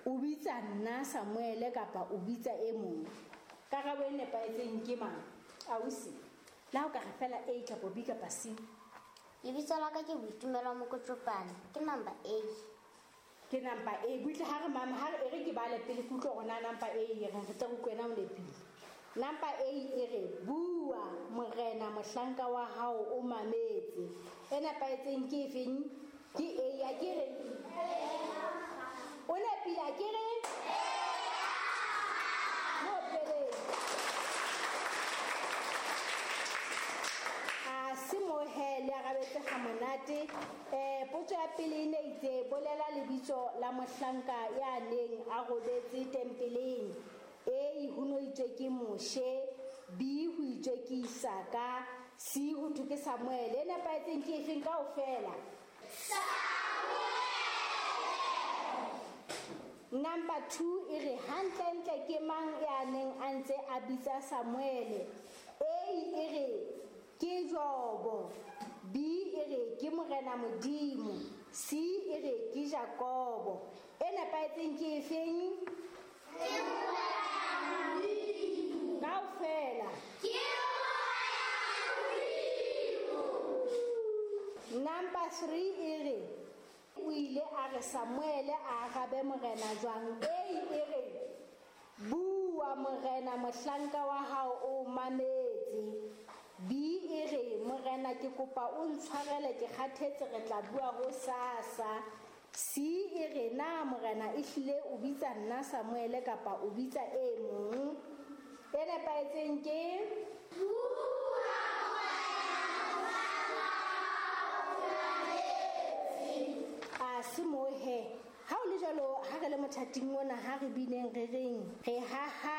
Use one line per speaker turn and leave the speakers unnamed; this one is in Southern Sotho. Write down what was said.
O bitsa nna Samuele kapa o bitsa e mong? Karabo e nepahetseng ke mang? Ausi, le ha o ka re fela A kapa B kapa C.
Lebitso la ka ke Boitumelo Mokotjopane, ke number A.
Ke number A. Butle ha re mama, ha re e re ke bale pele ke utlwe hore na number A e reng, re tle re utlwe wena o nepile. Number A e re, Bua, Morena, mohlanka wa hao o mametse. E nepahetseng ke efeng? Ke A, a ke re? O nepile, a ke re? Mo opeleng. A se mo he, le arabetse ga monate. Potso ya pele e ne itse, bolela lebitso la mohlanka ya neng a robetse tempeleng. A, ho no itswe ke Moshe, B, ho itswe ke Isaka, C, ho thwe ke Samuele. E nepahetseng ke efeng kaofela? Number 2 e re, hantlentle ke mang ya neng a ntse a bitsa Samuele? A e re, ke Jobo. B e re, ke Morena Modimo. C e re, ke Jakobo. E nepahetseng ke efeng? Kaofela. Number 3 e re, o ile a re Samuele a arabe Morena jwang? A e re, bua Morena, mohlanka wa hao o mametse. B e re, Morena ke kopa o ntshwarele, ke kgathetse, re tla bua hosasa. C e re, na Morena e hlile o bitsa nna Samuele kapa o bitsa e mong? E nepahetseng ke? A se mo he. Ha o le jwalo, ha re le mothating ona, ha re bineng re reng, re haha